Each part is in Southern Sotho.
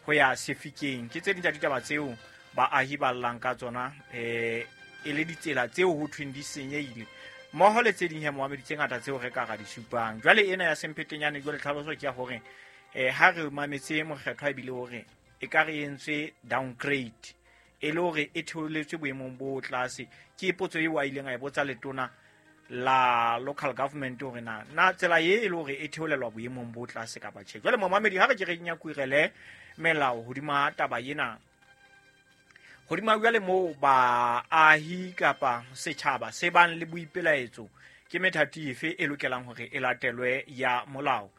Ho ya Sefikeng. Ke tse ding tsa ditaba tseo baahi ba llang ka tsona, e le ditsela tseo ho thweng di senyehile, mmoho le tse ding he moamedi tse ngata tseo re ka ra di supang. Jwale ena ya Semphetenyane, jwale tlhaloso ke ya hore ha re mametse mokgethwa ebile hore e ka re entswe downgrade, e le hore e theoletswe boemong bo tlase. Ke potso eo a ileng a e botsa letona la local government hore na tsela ye e le hore e theolelwa boemong bo tlase kapa tjhe. Jwale momamedi, ha re ke re nyakurele melao hodima taba ena, hodima jwale moo baahi kapa setjhaba se bang le boipelaetso, ke methati efe e lokelang hore e latelwe ya molao?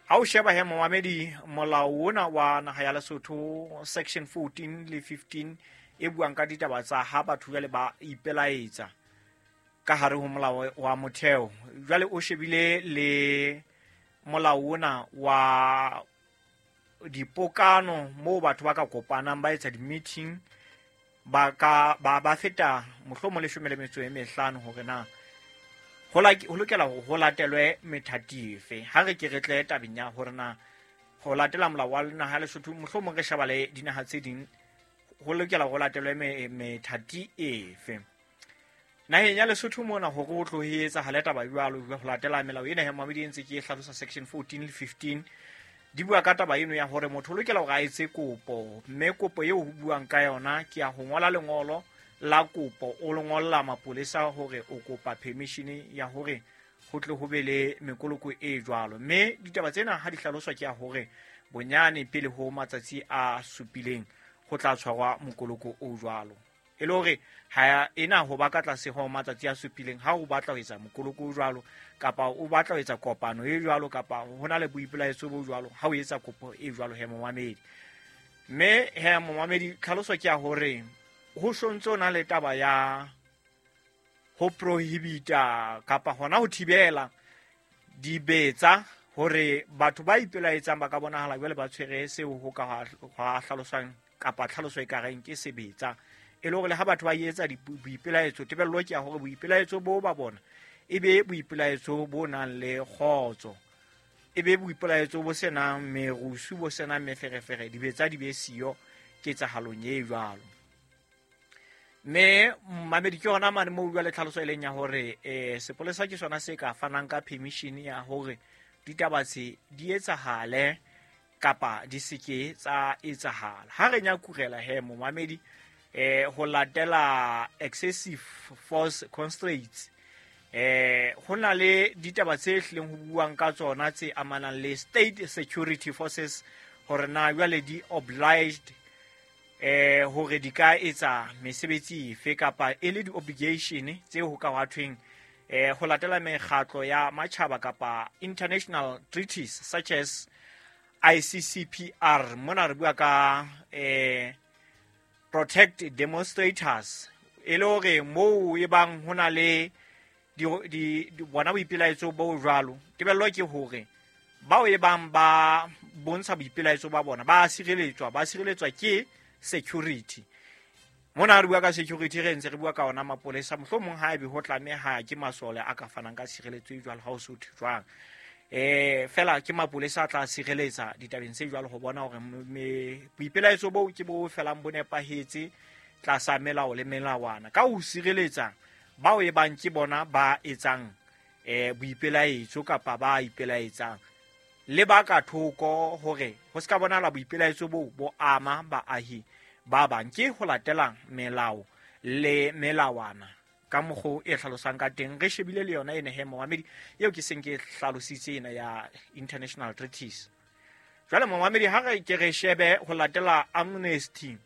Ha o sheba he momamedi, molao ona wa naha ya Lesotho, section 14 le 15 e buang ka ditaba tsa ha batho jwale ba ipelaetsa ka hare ho molao wa motheo, jwale o shebile le molao ona wa dipokano moo batho ba ka kopanang ba etsa di-meeting, ba ka ba feta mohlomong 15, hore na ho lokela hore ho latelwe methati efe. Ha re ke re tle tabeng ya hore na ho latela molao wa naha ya Lesotho, mohlomong re sheba le dinaha tse ding, ho lokela ho latelwe methati efe naheng ya Lesotho mona hore o tlo e etsahale taba jwalo ho latela melao ena. He mamedi, e ntse ke e hlalosa, section 14 le 15 di bua ka taba eno ya hore motho o lokela hore a etse kopo, mme kopo eo ho buang ka yona ke ya ho ngola lengolo la kopo, o le ngolla mapolesa hore o kopa permission ya hore ho tle ho be le mekoloko e jwalo. Mme ditaba tsena ha di hlaloswa ke ya hore bonyane pele ho matsatsi a supileng ho tla tshwarwa mokoloko o jwalo, e le hore ha ena ho ba ka tlase ho matsatsi a supileng ha o batla ho etsa mokoloko o jwalo, kapa o batla ho etsa kopano e jwalo, kapa ho na le boipelaetso bo jwalo, ha o etsa kopo e jwalo he momamedi. Mme he momamedi, tlhaloso ke ya hore ho sontse o na le taba ya ho prohibita kapa hona ho thibela dibetsa, hore batho ba ipelaetsang ba ka bonahala jwale ba tshwere seo ho ka hwa hlaloswang kapa tlhaloso e ka reng ke sebetsa, e le hore le ha batho ba etsa boipelaetso, tebello ke ya hore boipelaetso bo ba bona e be boipelaetso bo nang le kgotso, e be boipelaetso bo senang merusu, bo senang meferefere, dibetsa di be siyo ketsahalong e jwalo. Mme mamedi, ke yona mane moo jwale tlhaloso e leng ya hore sepolesa ke sona se ka fanang ka permission ya hore ditaba tse di etsahale kapa di seke tsa etsahala. Ha re nyakurela he momamedi, ho latela excessive force constraints, ho na le ditaba tse hlileng ho buang ka tsona tse amanang le state security forces, hore na jwale di obliged hore di ka etsa mesebetsi efe, kapa e le di-obligation tse ho ka hwa thweng ho latela mekgatlo ya matjhaba kapa international treaties such as ICCPR. Mona re bua ka protect demonstrators, e le hore moo e bang ho na le bona boipelaetso bo jwalo, tebello ke hore bao e bang ba bontsha boipelaetso ba bona ba sireletswa, ba sireletswa ke security. Mona re bua ka security, re ntse re bua ka ona mapolesa, mohlomong ha ebe ho tlameha ke masole a ka fanang ka sireletso e jwalo, ha o se ho thwe jwang, fela ke mapolesa a tla sireletsa ditabeng tse jwalo, ho bona hore boipelaetso boo ke bo felang bo nepahetse tlasa melao le melawana, ka ho sireletsa bao e bang ke bona ba etsang boipelaetso kapa ba ipelaetsang le ba ka thoko, hore ho se ka bonahala boipelaetso boo bo ama baahi ba bang. Ke ho latela melao le melawana ka mokgo e hlalosang ka teng, re shebile le yona ene he momamedi eo ke seng ke hlalositse ena ya international treaties. Jwale momamedi, ha re ke re shebe ho latela Amnesty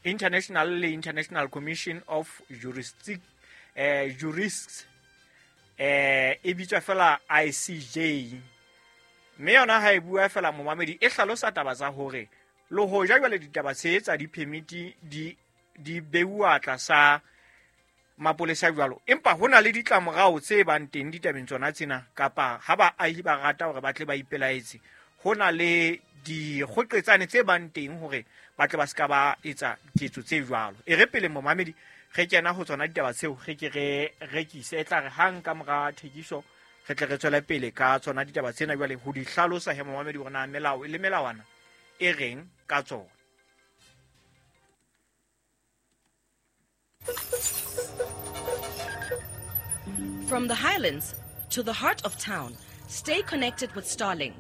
International le International Commission of Jurists, e bitswa fela ICJ, mme yona ha e bua fela momamedi, e hlalosa taba tsa hore le hoja jwale ditaba tse tsa di-permit di beuwa tlasa mapolesa jwalo, empa ho na le ditlamorao tse bang teng ditabeng tsona tsena, kapa ha baahi ba rata hore ba tle ba ipelaetse, ho na le dikgoqetsane tse bang teng hore ba tle ba se ka ba etsa ketso tse jwalo. E re pele momamedi re kena ho tsona ditaba tseo, re ke re rekise, e tla re hang ka mora thekiso re tle re tswele pele ka tsona ditaba tsena jwale ho di hlalosa he momamedi, hore na melao le melawana e reng ka tsona. From the highlands to the heart of town, stay connected with Starlink.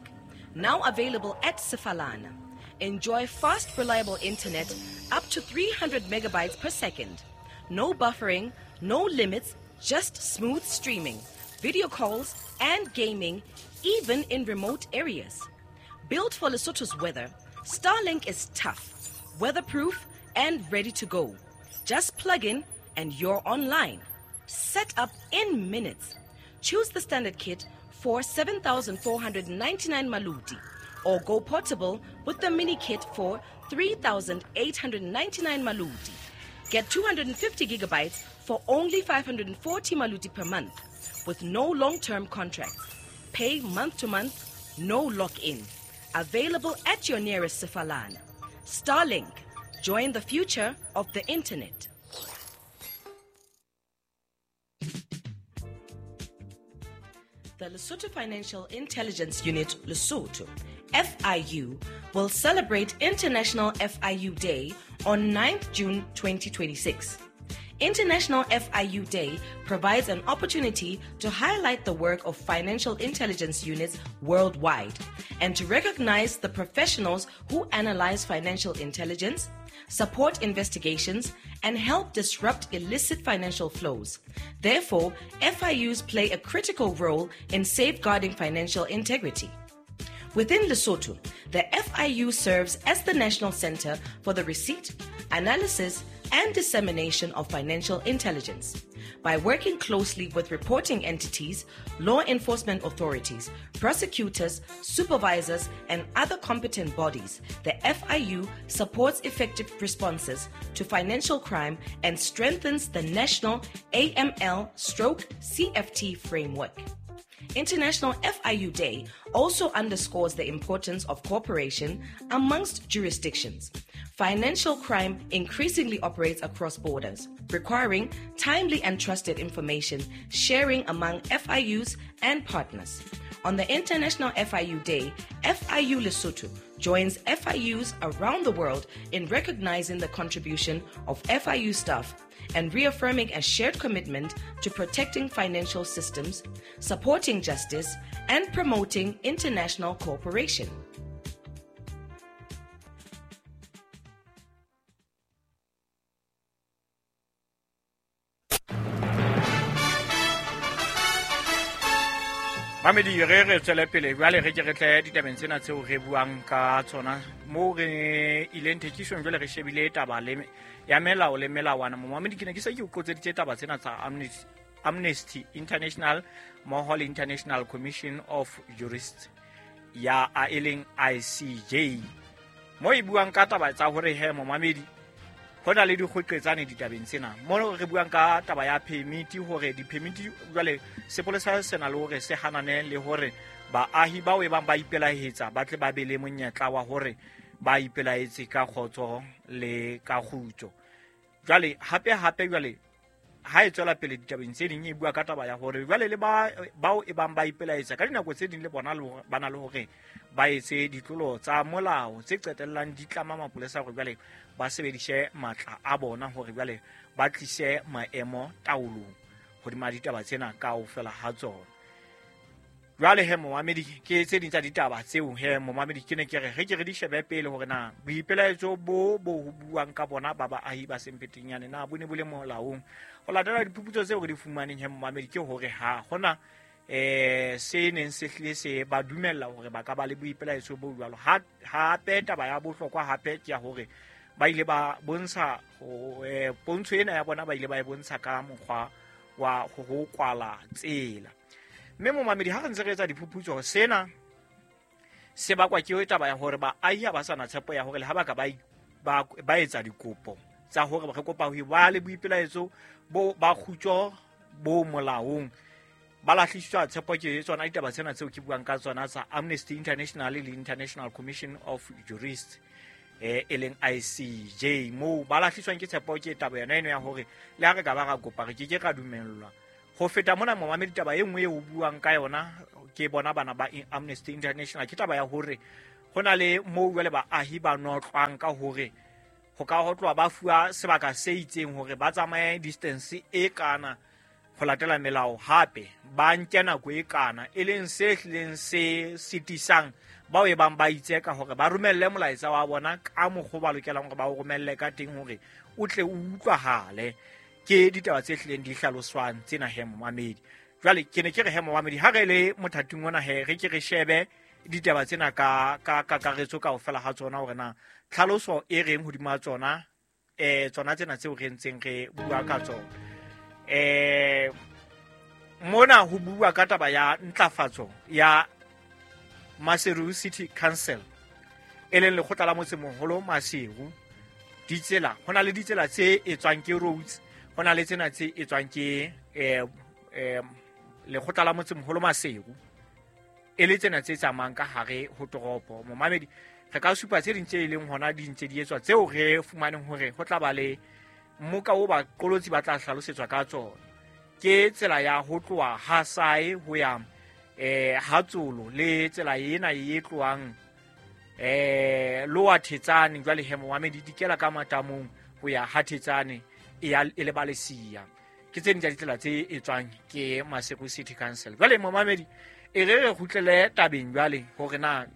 Now available at Sefalana. Enjoy fast, reliable internet up to 300 megabytes per second. No buffering, no limits, just smooth streaming, video calls, and gaming, even in remote areas. Built for Lesotho's weather, Starlink is tough, weatherproof, and ready to go. Just plug in and you're online. Set up in minutes. Choose the standard kit for 7,499 maluti or go portable with the mini kit for 3,899 maluti. Get 250 gigabytes for only 540 maluti per month with no long-term contracts. Pay month to month, no lock-in. Available at your nearest Sefalana. Starlink, join the future of the internet. The Lesotho Financial Intelligence Unit, Lesotho, FIU, will celebrate International FIU Day on 9th June 2026. International FIU Day provides an opportunity to highlight the work of financial intelligence units worldwide and to recognize the professionals who analyze financial intelligence, support investigations, and help disrupt illicit financial flows. Therefore, FIUs play a critical role in safeguarding financial integrity. Within Lesotho, the FIU serves as the national center for the receipt, analysis, and dissemination of financial intelligence. By working closely with reporting entities, law enforcement authorities, prosecutors, supervisors, and other competent bodies, the FIU supports effective responses to financial crime and strengthens the national AML/CFT framework. International FIU Day also underscores the importance of cooperation amongst jurisdictions. Financial crime increasingly operates across borders, requiring timely and trusted information sharing among FIUs and partners. On the International FIU Day, FIU Lesotho joins FIUs around the world in recognizing the contribution of FIU staff and reaffirming a shared commitment to protecting financial systems, supporting justice, and promoting international cooperation. Mamedi re tswele pele jwale re ke re tle ditabeng tsena tseo re buang ka tsona mo re ileng thekisong jwale re shebile taba le ya melao le melawana. Momamedi ke ne ke se ke o qotseditse taba tsena tsa Amnesty International mmoho le International Commission of Jurists ya a e leng ICJ mo e buang ka taba tsa hore he momamedi ho na le dikgoqetsane ditabeng tsena mo re buang ka taba ya permit hore di-permit jwale sepolesa se na le hore se hanane le hore baahi bao e bang ba ipelaetsa ba tle ba be le monyetla wa hore ba ipelaetse ka kgotso le ka kgutso. Jwale hape jwale ha e tswela pele ditabeng tse ding e bua ka taba ya hore jwale le bao e bang ba ipelaetsa ka dinako tse ding le bona ba na le hore ba etse ditlolo tsa molao tse qetellang di tlama mapolesa hore jwale ba sebedise matla a bona hore jwale ba tlise maemo taolong hodima ditaba tsena kaofela ha tsona. Jwale he momamedi ke tse ding tsa ditaba tseo he momamedi ke ne ke re ke re di shebe pele hore na boipelaetso bo ho buang ka bona ba baahi ba Sempetenyane na bo ne bo le molaong. Ho latela diphuputso tseo re di fumaneng he momamedi ke hore ha hona se neng se hlile se ba dumella hore ba ka ba le boipelaetso bo jwalo. Hape taba ya bohlokwa hape ke ya hore ba ile ba bontsha pontsho ena ya bona ba ile ba e bontsha ka mokgwa wa ho kwala tsela. Mme momamedi ha re ntse re etsa diphuputso sena se bakwa ke taba ya hore baahi ha ba sa na tshepo ya hore le ha ba ka ba etsa dikopo tsa hore re kopa ho ba le boipelaetso bo ba kgutso bo molaong ba lahliswa tshepo ke tsona ditaba tsena tseo ke buang ka tsona tsa Amnesty International le International Commission of Jurists e leng ICJ moo ba lahliswang ke tshepo ke taba yona eno ya hore le ha re ka ba ra kopa re ke ke ra dumellwa. Ho feta mona momamedi taba e nngwe e o buang ka yona ke bona bana ba Amnesty International ke taba ya hore Ho na le moo jwale baahi ba notlwang ka hore ho ka ho tloha ba fuwa sebaka se itseng hore ba tsamaye distance e kana ho latela melao, hape ba nke nako e kana, e leng se hlileng se sitisang bao e bang ba itse ka hore ba romelle molaetsa wa bona ka mokgwa ba lokelang hore ba o romelle ka teng hore o tle o utlwahale. Ke ditaba tse hlileng di hlaloswang tsena he momamedi. Jwale ke ne ke re he momamedi, ha re le mothating ona he re ke re shebe ditaba tsena ka kakaretso kaofela ha tsona hore na tlhaloso e reng hodima tsona, tsona tsena tseo re ntseng re bua ka tsona. Mona ho bua ka taba ya ntlafatso ya Maseru City Council, e leng lekgotla la motsemoholo Maseru. Ditsela, ho na le ditsela tse etswang ke roads, ho na le tsena tse etswang ke lekgotla la motsemoholo Maseru, e le tsena tse tsamayang ka hare ho toropo. Momamedi, re ka supa tse ding tse e leng hona di ntse di etswa tseo re fumaneng hore ho tla ba le mmoka o baqolotsi ba tla hlalosetswa ka tsona. Ke tsela ya ho tloha ha Sae ho ya ha Tsolo, le tsela ena e tlohang Lower Thetsane jwale he momamedi di kela ka matamong ho ya ha Thetsane e ya e le Balesia. Ke tse ding tsa ditsela tse etswang ke Maseru City Council. Jwale momamedi, e re re kgutlele tabeng jwale hore na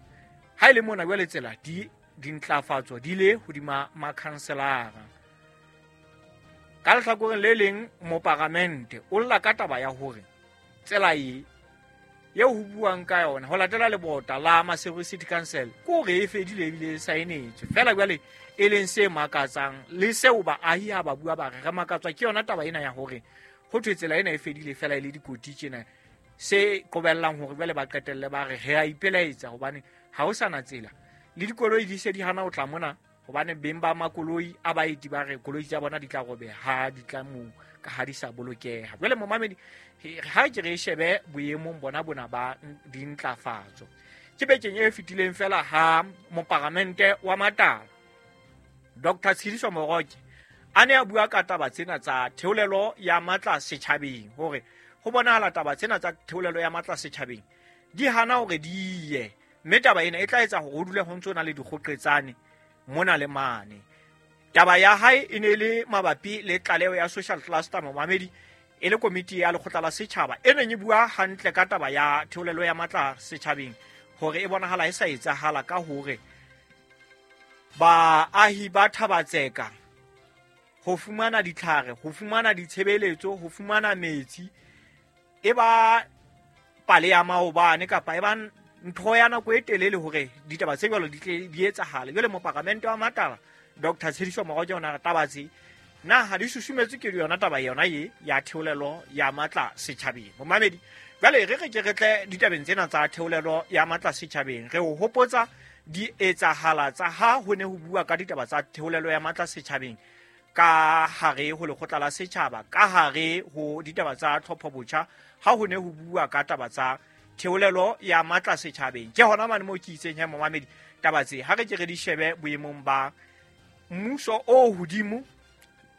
ha e le mona jwale tsela di dintlafatso di le hodima makhanselara. Ka lehlakoreng le leng moparamente o lla ka taba ya hore tsela e eo ho buang ka yona ho latela lebota la Maseru City Council ke hore e fedile ebile e saenetswe fela. Jwale e leng se makatsang le seo baahi ha ba bua ba re re makatswa ke yona taba ena ya hore ho thwe tsela ena e fedile fela e le dikoti tjena, se qobellang hore jwale ba qetelle ba re re a ipelaetsa hobane ha ho sana tsela, le dikoloi di se di hana ho tla mona hobane beng ba makoloi a baeti ba re koloi tsa bona di tla robeha ha di tla moo ka ha di sa bolokeha. Jwale momamedi, ha ke re shebe boemong bona bona ba dintlafatso. Ke bekeng e fetileng fela ha moparamente wa Matala Dr. Tshidiso Moroke a ne a bua ka taba tsena tsa theolelo ya matla setjhabeng, hore ho bonahala taba tsena tsa theolelo ya matla setjhabeng di hana hore di ye, mme taba ena e tla etsa hore ho dule ho ntso na le dikgoqetsane mona le mane. Taba ya hae e ne le mabapi le tlaleho ya social cluster momamedi, e le komiti ya lekgotla la setjhaba e neng e bua hantle ka taba ya theolelo ya matla setjhabeng, hore e bonahala e sa etsahala ka hore baahi ba Thabatseka ho fumana ditlhare, ho fumana ditshebeletso, ho fumana metsi e ba pale ya maobane kapa e ba ntho ya nako e telele hore ditaba tse jwalo di tle di etsahale. Jwale moparamente wa Matala Dr. Tshidiso Moroke o na re taba tse na ha di susumetswe ke yona taba yona ye ya theolelo ya matla setjhabeng. Momamedi, jwale re re ke re tle ditabeng tsena tsa theolelo ya matla setjhabeng, re o hopotsa di etsahala tsa ha ho ne ho bua ka ditaba tsa theolelo ya matla setjhabeng ka hare ho lekgotla la setjhaba, ka hare ho ditaba tsa tlhopho botjha, ha ho ne ho bua ka taba tsa theolelo ya matla setjhabeng. Ke hona mane moo ke itseng he momamedi, taba tse ha re ke re di shebe boemong ba mmuso o hodimo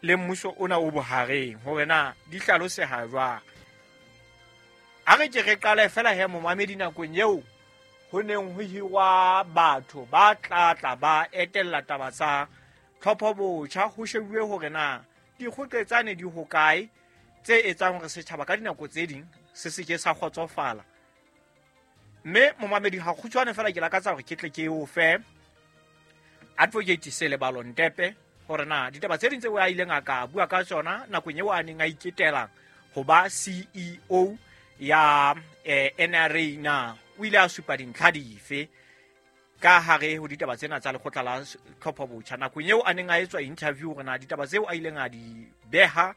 le mmuso ona o bohareng hore na di hlaloseha jwang. Ha re ke re qale fela he momamedi nakong eo ho neng ho hirwa batho ba tlatla ba etella taba tsa tlhopho botjha, ho shebuwe hore na dikgoqetsane di hokae tse etsang hore setjhaba ka dinako tse ding se se ke sa kgotsofala. Mme momamedi, ha kgutshwane fela ke lakatsa hore ke tle ke o fe Advocate Selebalo Ntepe hore na ditaba tse ding tseo a ileng a ka bua ka tsona nakong eo a neng a iketela ho ba CEO ya NRA, na o ile a supa dintlha dife ka hare ho ditaba tsena tsa lekgotla la tlhopho botjha nakong eo a neng a etswa interview, hore na ditaba tseo a ileng a di beha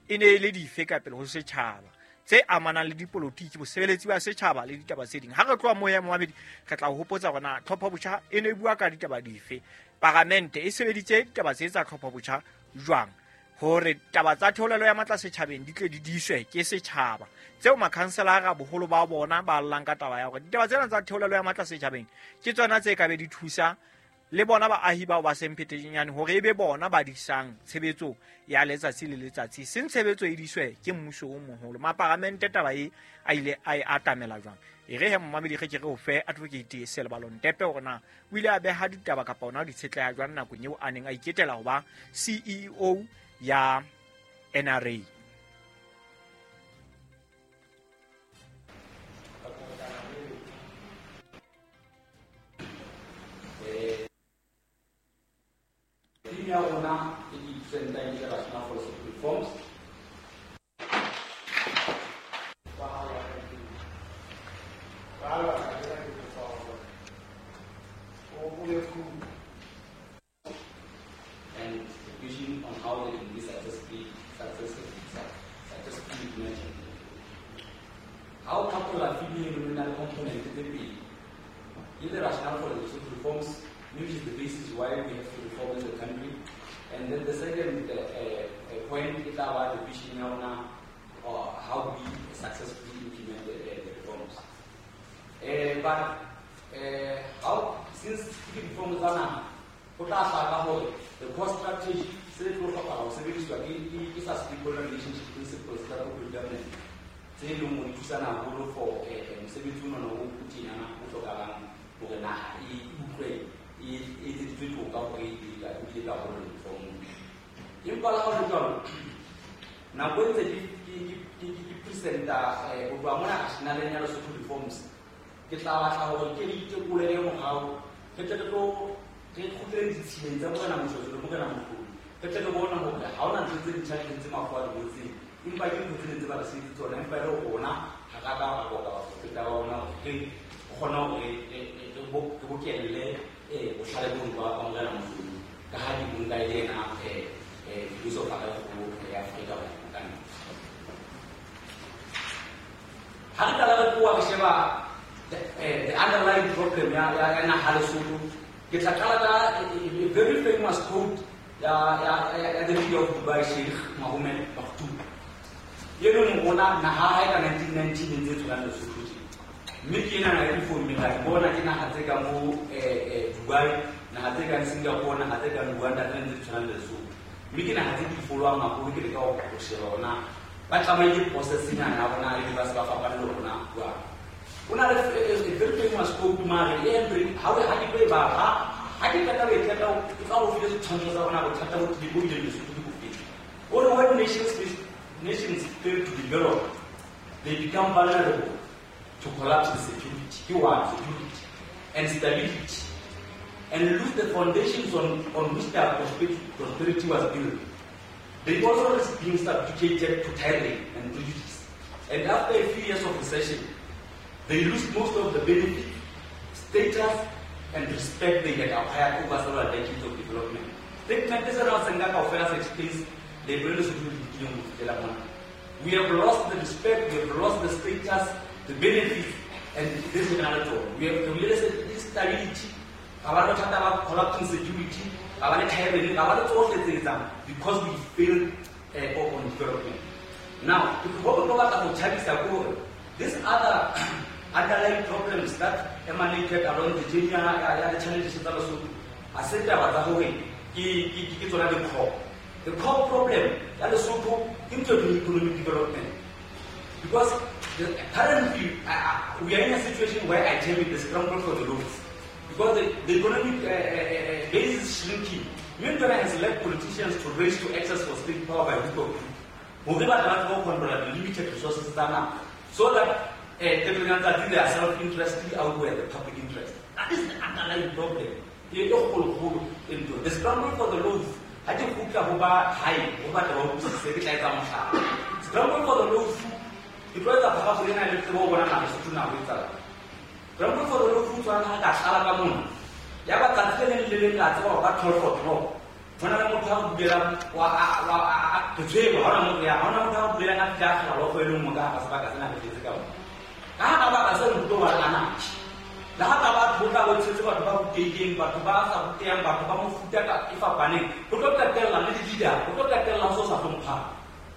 e ne e le dife ka pele ho setjhaba tse amanang le dipolotiki, bosebeletsi ba setjhaba le ditaba tse ding. Ha re tloha moo ya momamedi, re tla o hopotsa hore na tlhopho botjha e ne e bua ka ditaba dife, paramente e sebeditse ditaba tse tsa tlhopho botjha jwang, hore taba tsa theolelo ya matla setjhabeng di tle di diswe ke setjhaba, tseo makhanselara boholo ba bona ba llang ka taba ya hore ditaba tsena tsa theolelo ya matla setjhabeng ke tsona tse ka be di thusa le bona baahi bao ba seng phetenyane hore e be bona ba disang tshebetso ya letsatsi le letsatsi, seng tshebetso e diswe ke mmuso o moholo. Maparamente taba e a ile a e atamela jwang? E re he momamedi ge ke re o fe Advocate Selebalo Ntepe hore na o ile a beha ditaba kapa ona di tshetleha jwang nakong eo a neng a iketela ho ba CEO ya NRA. Ya rona e ke presentang ke Rational for Lesotho Reforms. And the vision on how they can be successfully implemented. How couple are feeling criminal component tse pedi ke the rationale for the Lesotho Reforms, which is the basis why we have to reform as a country. And then the second point is about the vision on how we successfully implement the reforms. But how, since the reforms are now, the core strategy is a stakeholder relationship principles that will predominate. Tse leng hore di thusana haholo for mosebetsi ona o tjenana o hlokahalang hore naha e utlwe e etseditswe toka hore e bile karolo reformong. Empa le ha ho le jwalo, nako e ntse ke presenta ho tloha mona rationaleng ya Lesotho Reforms, ke tla batla hore ke re itekolele morao, re tle re tlo re kgutlele ditshileng tsa Morena Moshoeshoe le Morena Mohlomi, re tle re bone hore ha hona ntho tse ntjha di entse mafu a di ngotseng, empa ke ntho tse ntse ba re sebeditse tsona, empa e le rona ha ra ka ra boka baprofeta ba bona hore re kgone hore re bokelle bohlale bono ba Morena Mohlomi, ka ha di nka e le yena philosopher e kgolo ya Afrika Borwa ka nnete. Ha re qala re tloha re sheba the underlying problem ya naha Lesotho, ke tla qala ka a very famous quote ya the leader of Dubai, Sheikh Mohammed Maktoum. E leng rona naha ha e ka 1919 e ntse e tshwana Lesotho tje. Mme ke ena naha e difommeng ra di bona ke naha tse ka mo Dubai, naha tse kang Singapore, naha tse kang Rwanda tse ntse di tshwana le Lesotho. Mme ke naha tse di folwang haholo, ke leka ho sheba hore na ba tsamaile process-nyana ya bona ebe ba se ba fapane le rona jwang. Ho na le a very famous quote mare e entry ha ke tlo e bala, ha ke qeta ho e qeta e tla o file setshwantsho sa rona bothata bo tlile bo bileng Lesotho ke bofe. O re when nations fail to develop, they become vulnerable to collapse in security, ke one, security and stability, and lose the foundations on which their prosperity was built. They also risk being subjugated to tyranny and prejudice. And after a few years of recession, they lose most of the benefit, status, and respect they had acquired over several decades of development. Statement is around Senga Kaufela explains the we have lost the respect, we have lost the status, the benefits, and this is another talk. We have the stability, collapsing security, because we failed on development. Now, these other underlying problems that emanated along the journey, the challenges that are said about the core. The core problem that is so into the economic development. Because currently we are in a situation where I term it the scramble for the loaves. Because the economic base is shrinking. Mindona has led politicians to race to access for state power by hook or crook. The limited resources so that their self-interest outweigh the public interest. That is the underlying problem. The scramble for the loaf. Scramble for the loaf. Scramble for the loaf.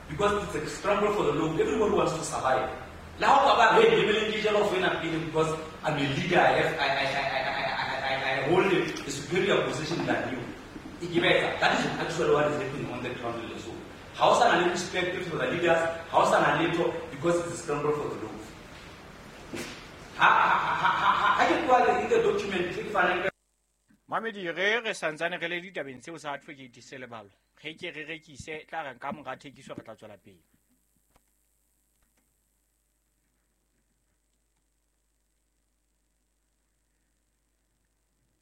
Because it's a scramble for the loaf. Everyone wants to survive. Because I'm a leader, I hold a superior position than you. That is actually what is happening on the ground in Lesotho. Ha o sa na le respect for the leaders, ha o sa na letho, because it's a scramble for the loaf. Ha ke bua in the document ke fanang ka Mamedi, re santsane re le ditabeng tseo sa Advocate Selebalo. Ge ke re rekise tla re ka mora thekiso re tla tswela pele.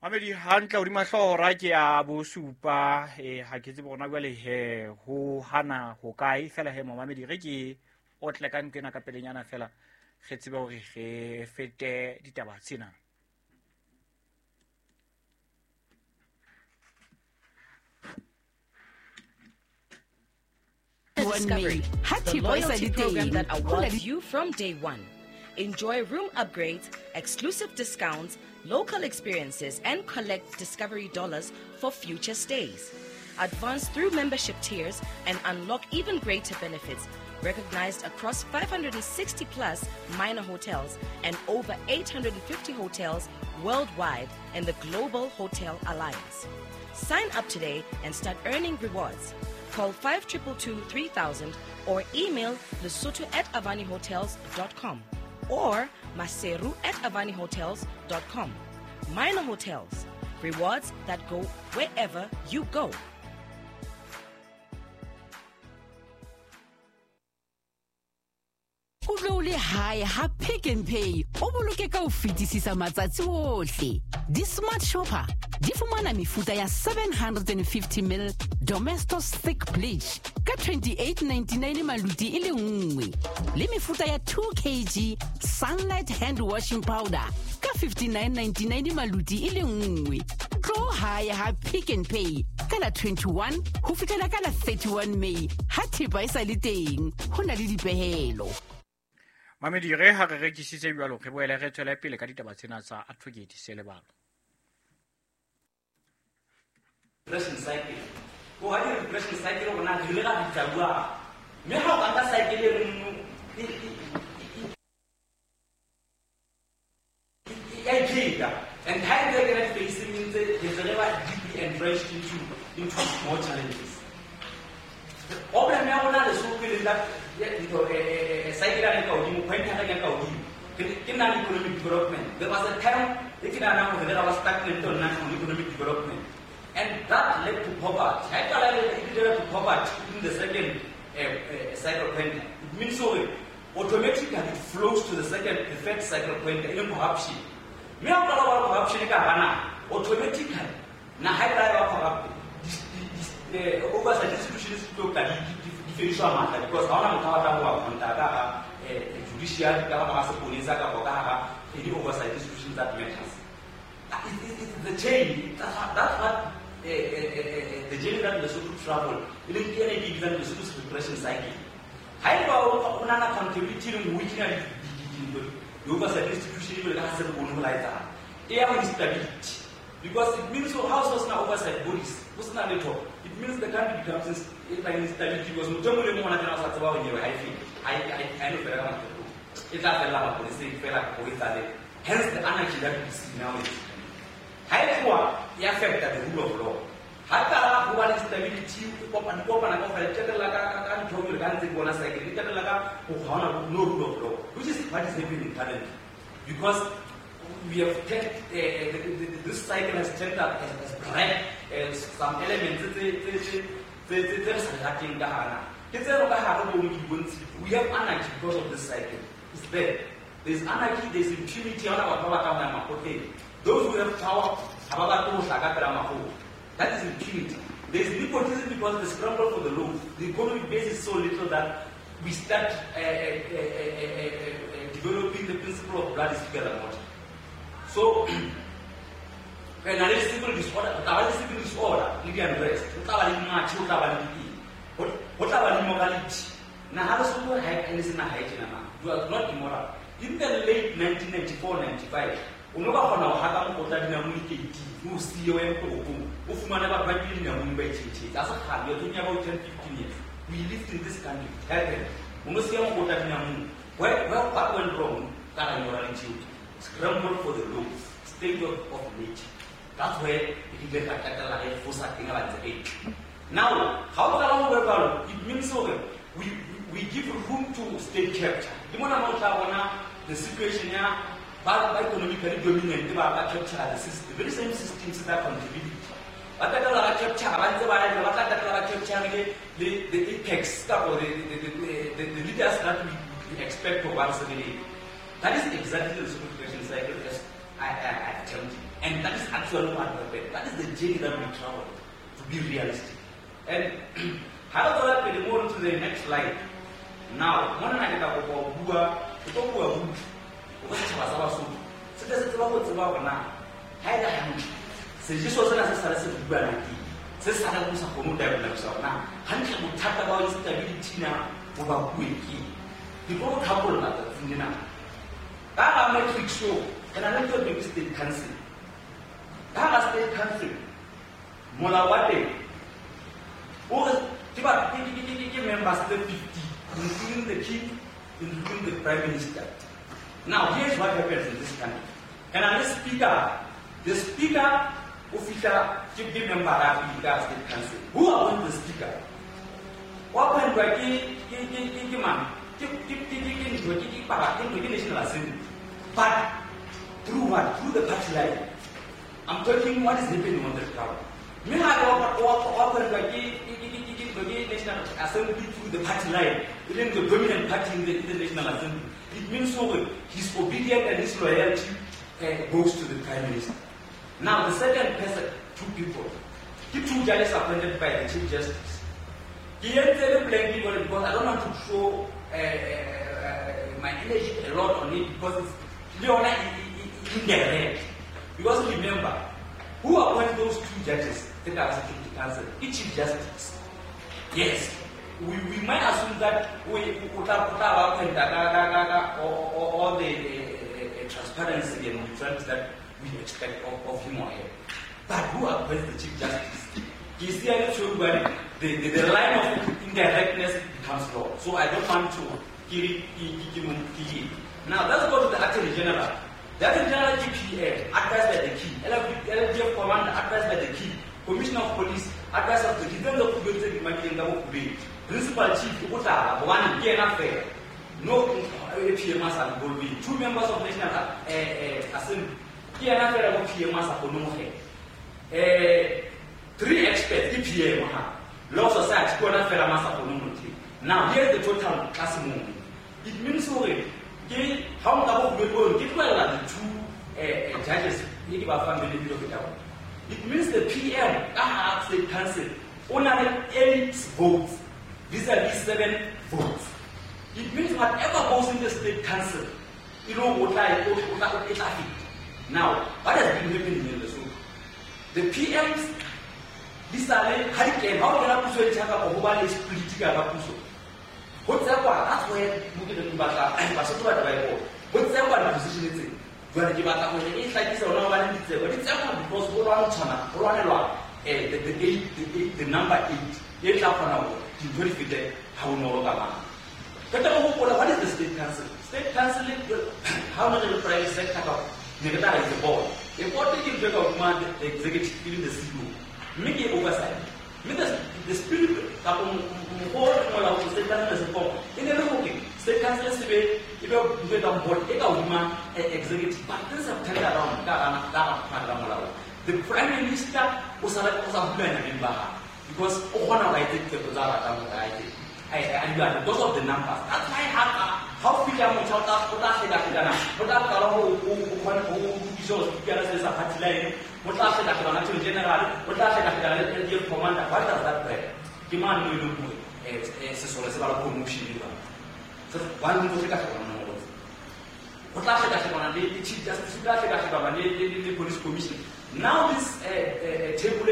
Mamedi, hantle hodima hlooho ra ke ya bosupa, ha ke tsebe hona jwale he ho hana ho kae fela he mamedi re ke o tle ka ntho ena ka pelenyana fela re tsebe hore re fete ditaba tsena. Discovery, the loyalty program that awards you from day one. Enjoy room upgrades, exclusive discounts, local experiences, and collect Discovery dollars for future stays. Advance through membership tiers and unlock even greater benefits, recognized across 560 plus minor hotels and over 850 hotels worldwide in the Global Hotel Alliance. Sign up today and start earning rewards. Call 5222-3000 or email lesotho@avanihotels.com or maseru@avanihotels.com. Minor Hotels, rewards that go wherever you go. O le hae ha Pick n Pay o boloke ka ho fetisisa matsatsi ohle. Di-smart shopper di fumana mefuta ya 750 ml Domestos thick bleach ka 28.99 maluti e le nngwe, le mefuta ya 2 kg Sunlight hand washing powder ka 59.99 maluti e le nngwe. Tlo hae ha Pick n Pay ka la 21 ho fihlela ka la 31 May ha thepa e sa le teng, ho na le dipehelo. Mamedi, re ha re rekisitse jwalo re boele re tswele pele ka ditaba tsena tsa Advocate Selebalo. Regression cycle. O ha di regression cycle rona re ile ra bitsa bua. Mme ha o ka nka cycle e nngwe e pheta, and ha e ntse e kena di-facing ntse re ntse re ba deeply entrenched into more challenges. Problem ya rona Lesotho e leng that cycle ya ka hodimo, point ya ka hodimo ke non-economic development. There was a time e ke nahanang hore re ba stagnant on non-economic development, and that led to poverty. Ha e qala e led to poverty in the second cycle point. It means hore automatically it flows to the second, the third cycle point, e leng corruption. Mme ha o qala wa corruption ka hara naha, automatically naha e tla ba corrupt. Oversight institutions di tlo tla di fediswa matla, because ha hona motho a batlang ho ba contact ka hara judiciary, ka hara seponesa, kapa ka hara any oversight institutions that matters. It's the chain. That's what the journey that Lesotho travel, e leng ke ena e ke bitsang Lesotho's regression cycle. Ha eba o na le accountability le ho kenya di oversight institution e le ka ha se re bone ho la etsahala, e ya ho instability. Because it means so how so sena oversight bodies, ho sena letho, it means the country becomes instability, because motho e mong le mong ona tjena o sa tseba hore nyewe ha e fele, ha e no fela ka mahloko, e tla fella maponeseng fela ho etsahale. Hence the anarchy that we see now. Ha e tloha e affecta the rule of law. Ha qala ho ba le instability, e kopana kaofela, e qetella ka ntho e ka ntse ke bona cycle, e qetella ka ho ha hona no rule of law, which is what is happening currently. Because we have turned, this cycle has turned up, has bred some elements tse re sa rateng ka hara naha. Ke tse re ka hare bo di bontshitse. We have anarchy because of this cycle. It's there. There's anarchy, there's impunity. Ha hona batho ba batlang ho ya makgotleng. Those who have power ha ba batle ho hlaka pela makgotla. That is impunity. There's nepotism because the scramble for the loaf. The economic base is so little that we start developing the principle of blood is thicker than water. So, re na le civil disorder, ho tla ba le civil disorder le di-unrest, ho tla ba le matjhe, ho tla ba le dieng, ho tla ba le immorality. Naha Lesotho ha e ne se naha e tjena na. You are not immoral. In the late 1994-95, o no ka kgona ho haka mokotla dinamune keiting, o siye o ye toropong, o fumane batho ba nkile dinamune ba itjhentjhetse. Ha se kgale, we are talking about 10-15 years. We lived in this country, it happened. O no siya mokotla dinamune. What went wrong? Ka immorality. Scramble for the loaf, state of nature. That's where it is now, how it means we give room to state capture. The situation here, by economically dominant, capture the system, the very same systems that contribute. But the apex or the leaders that we expect for 178. That is exactly the simplification cycle as I attempted. And that is actually what happened. That is the journey that we traveled, to be realistic. And how do I move to the next slide? Now, one night I matrix show and I don't think state council. That state council, Molawate, members 50, including the king, including the prime minister. Now, here's what happens in this country. And I'm the speaker, official, chief member of the state council. Who appoints the speaker? What National Assembly. But through what? Through the party line. I'm talking what is happening on the ground. National Assembly through the party line, even the dominant party in the National Assembly. It means so his obedience and his loyalty goes to the Prime Minister. Now the second person, two people, the two judges appointed by the Chief Justice. He entered the because I don't want to show my energy a lot on it because it's indirect. Because remember, who appointed those two judges that are Security Council? The Chief Justice. Yes, we might assume that we all the transparency and neutrality that we expect of him or her. But who appoints the Chief Justice? The line of indirectness becomes law. So I don't want to. Now let's go to the Attorney General. The Attorney General GPA, advised by the king. LDF Commander, advised by the king. Commissioner of Police, advised of the king. Principal Chief, one no PMS are involved. Two members of National Assembly. Three experts, DPA, Law Society, now here's the total class movement. It means how the two judges, it means the PM, State Council, only 8 votes vis-a-vis 7 votes. It means whatever goes in the State Council, you know, now, what has been happening in the Lesotho? The PMs, this are hurricane, how can I put political? That's where what's the position? The number 8, what is the State Council? State Council, how much the private sector is the board. The board taking the executive, even the CEO, make it oversight. The spirit of State Council State Council executive, but things have turned around. The Prime Minister was a because because of the numbers. That's why how what does that mean? Police Commission. Now this table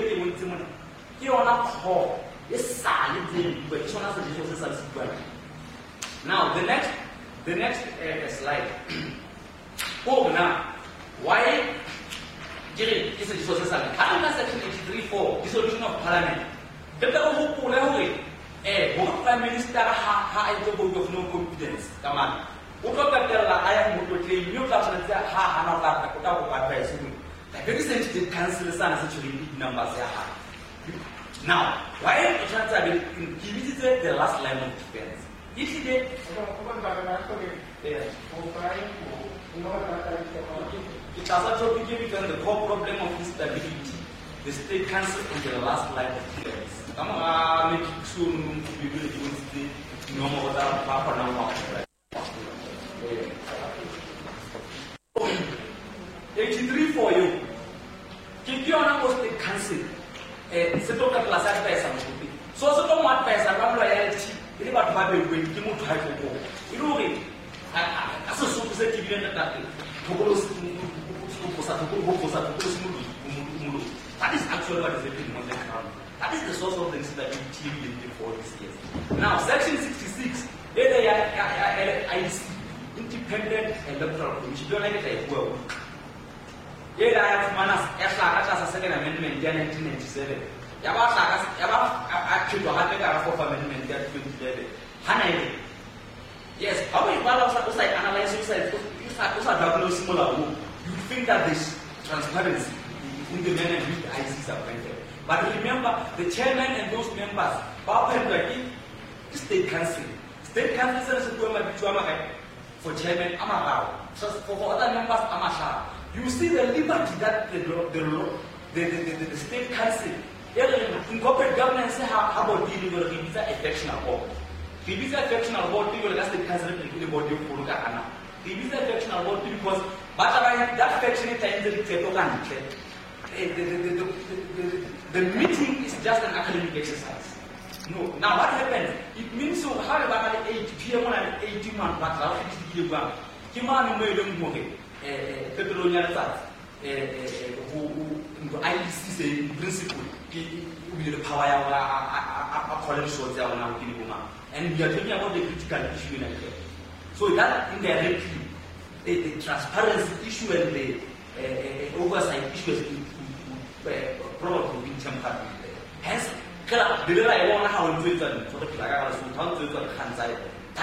now the next slide. Oh, now why section 83(4) dissolution of parliament. Prime Minister ha vote of no confidence. Come on. The very same state council sana se tshwereng di-numbers ya hae. Now, why o tshwanetse a be ke bitsitse the last line of defense. E tlile ke tlasa topic e bitswang the core problem of instability, the state council and the last line of defense. Ka mora matrix ono ke ke bontshitse dinomoro tsa ba kgonang ho apply. 83 for you. Ke yona mo state council se tlo ka tlasa advice motho. So se tlo mo advice ka loyalty e le batho ba beuweng ke motho ha tlo e le hore a Sesotho se tebileng ntate thokolo sa thokolo ho sa thokolo se moloi. That is actually what is happening on the ground. That is the source of the instability in the for these years. Now, section 66, IEC, Independent Electoral Commission, don't like it well. Ya second amendment ya 1997. Ya ba ya ba a phetoha hape ka fourth amendment ya 2011. Hana ile. Yes, how we bala o sa analyze o sa diagnose molao, you think that this transparency in the manner in which the IEC is appointed. But remember, the chairman and those members, ba appointwa ke state council. State council se bua mabitso a makae for chairman a mararo, so for other members a mahlano. You see the liberty that the state council in corporate governance ha body le re bitsa a factional board. Re bitsa factional board le ka state council le body e kgolo ka hana. Re bitsa factional board because ba tla ba that faction e tla entse diqeto ka ntle. The meeting is just an academic exercise. No. Now what happens? It means so ha re ba na le 8 PM na le 80 man ba tla go fitile bang. Ke mane mo e leng hore petrol ya letsatsi ho ntho IEC se in principle ke o bile le power ya hore a call shots ya rona ho ke le bomang. And we are talking about the critical issue in Africa. So that indirectly the transparency issue and the oversight issue has been probably been tampered with. Hence, that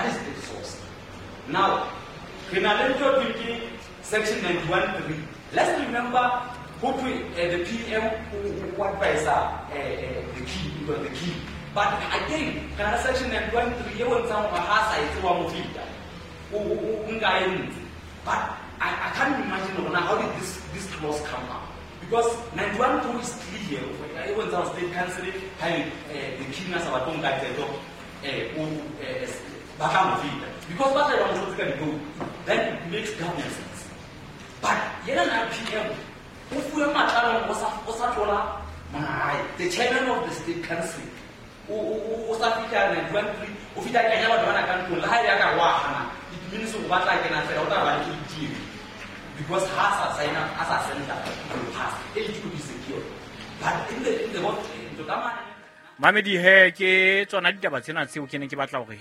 is the source. Now, section 91.3. Let's remember who the PM who advisor the key, the key. But again, section 91.3 but I can't imagine how did this clause come up. Because 91.2 is clear. Even the state council, the king has our own because what I want to do, then it makes government sense. But PM, the chairman of the state council, it means because has a sign up as a senator will pass, it could be secured. But in the what Mamedi he ke tsona ditaba tsena tseo ke ne ke batla hore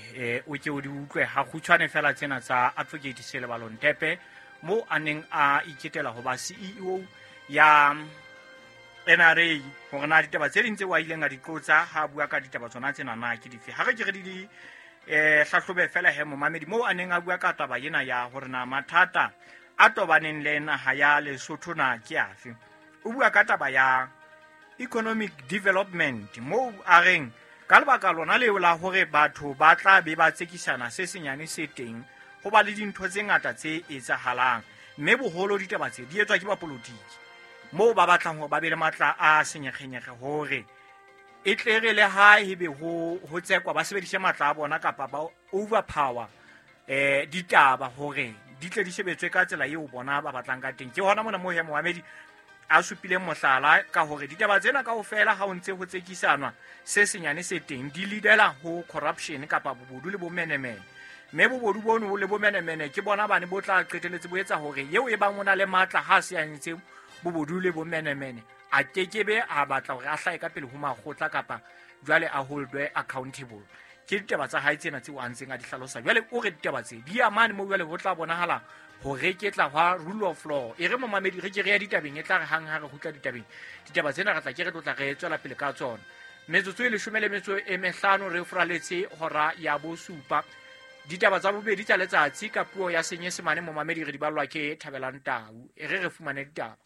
o ke o di utlwe ha kgutshwane fela tsena tsa Advocate Selebalo Ntepe mo a neng a iketela ho ba CEO ya NRA hore na ditaba tse ding tseo a ileng a di qotsa ha bua ka ditaba tsona tsena na ke dife. Ha re ke re di hlahlobe fela he momamedi mo a neng a bua ka taba ena ya hore na mathata a tobaneng le naha ya Lesotho na ke afe. O bua ka taba ya economic development mo a reng ka lebaka lona leo la hore batho ba tla be ba tsekisana se senyane se teng ho ba le dintho tse ngata tse etsahalang mme boholo ditaba tse di etswa ke bapolotiki moo ba batlang hore ba be le matla a senyekgenyekge hore e tle re le ha ebe ho tsekwa ba sebedise matla a bona kapa ba overpower ditaba hore di tle di sebetswe ka tsela eo bona ba batlang ka teng. Ke hona mona mo he Mohamedi a supileng mohlala ka hore ditaba tsena kaofela ha o ntse ho tsekisanwa se senyane se teng di leadela ho corruption kapa bobodu le bomenemene mme bobodu bono le bomenemene ke bona bane bo tla qeteletse bo etsa hore eo e bang o na le matla ha se a ntse bobodu le bomenemene a kekebe a batla hore a hlahe ka pele ho makgotla kapa jwale a holdwe accountable. Ke ditaba tsa hae tsena tseo a ntseng a di hlalosa. Jwale o re ditaba tse di amane mo jwale ho tla bonahala hore ke tla hwa rule of law. E re momamedi re ke re ya ditabeng e tla re hang ha re kgutla ditabeng ditaba tsena re tla ke re tlotla re tswela pele ka tsona. Metsotso e 15 re furaletse hora ya bosupa. Ditaba tsa bobedi tsa letsatsi ka puo ya Senyesemane momamedi re di ballwa ke Thabelang Tau. E re re fumane ditaba.